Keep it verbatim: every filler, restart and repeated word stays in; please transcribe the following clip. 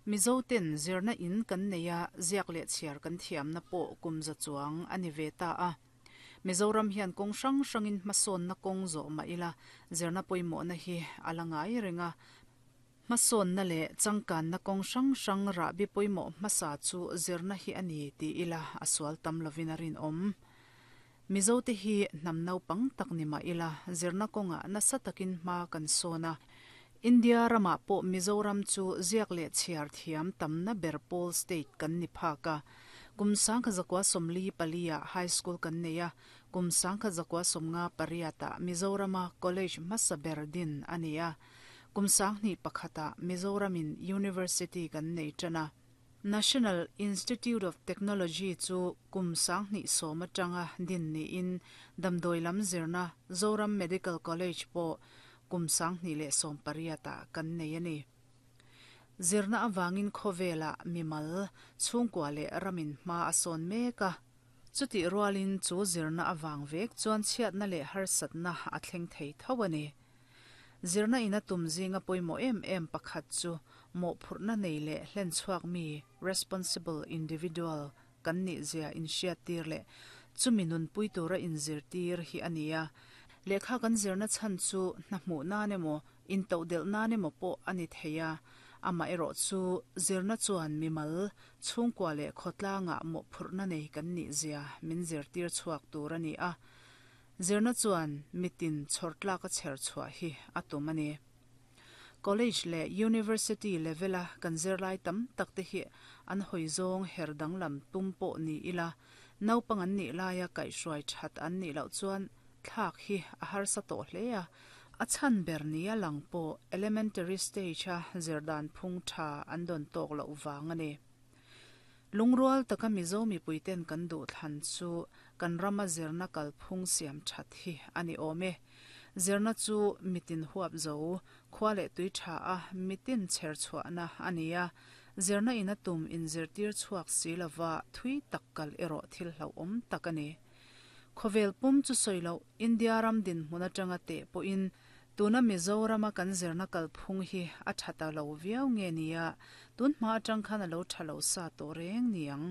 Mizoten zirna in kan nei a, ziak leh chhiar kan thiamna pawh kum za chuang a ni ve ta a. Mizoram hian kawng hrang hrangin hmasawnna kawng zawh mah ila, zirna pawimawhna hi a la ngai reng a. Hmasawnna leh changkanna kawng hrang hrang rahbi pawimawh hmasa chu zirna hi a ni ti ila a sual tam lovin a rinawm. Mizote hi hnam naupang tak ni mah ila, zirna kawngah nasa takin hma kan sawn a. India ramah pawh Mizoram chu ziak leh chhiar thiam tamna ber pawl state kan ni phak a. Kum sangkhat zakua sawmli pali-ah high school kan nei a, kum sangkhat zakua sawmnga pariatah Mizorama college hmasa ber din a ni a. Kum sanghnih pakhatah Mizoramin University kan nei tan a. National Institute of Technology chu kum sanghnih sawm atanga din niin damdawi lam zirna Zoram Medical College pawh kum sanghnih leh sawm pariatah kan nei a ni. Zirna avangin khawvelah mimal, chhungkua leh ramin hma a sawn mek a. Chutih rualin chu zirna avang vek chuan chhiatna leh harsatna a thleng thei tho a ni. Zirna ina tum zinga pawimawh em em pakhat chu mawhphurhna nei leh hlen chhuak mi, responsible individual, kan nih zia inhriattir leh chumi nunpui tura inzirtir hi a ni a. Lehkha kan zirna chhan chu hna hmuh nan emaw, intodelh nan emaw pawh a ni thei a. Amaherawh chu zirna chuan mimal, chhungkua leh khawtlangah mawhphurhna nei kan nih zia min zirtir chhuak tur a ni a. Zirna chuan mitin chhawrtlak a chher chhuah hi a tum a ni. College leh University level-a kan zirlai tam tak te hi an hawi zawng her danglam tum pawh ni ila, naupang an nih laia kaihhruai that an nih loh chuan thlak hi a harsa tawh hle a. A chhan ber nia lang pawh elementary stage-a zirdan phung tha an dawn tawk loh vang a ni. Lungrual taka Mizo mipuiten kan duh thlan chu kan rama zirna kalphung siam that hi a ni awm e. Zirna chu mitin huap zo, khua leh tui tha a mitin chher chhuahna a ni a. Zirna ina tum inzirtir chhuak si lova thui tak kal erawh thil hlauhawm tak a ni. Khawvel pum chu sawi loh India ram dinhmun atanga teh pawhin tuna Mizorama kan zirna kalphung hi a tha ta lo viau nge nia, tun hma atang khan a lo tha lo sa tawh reng ni ang.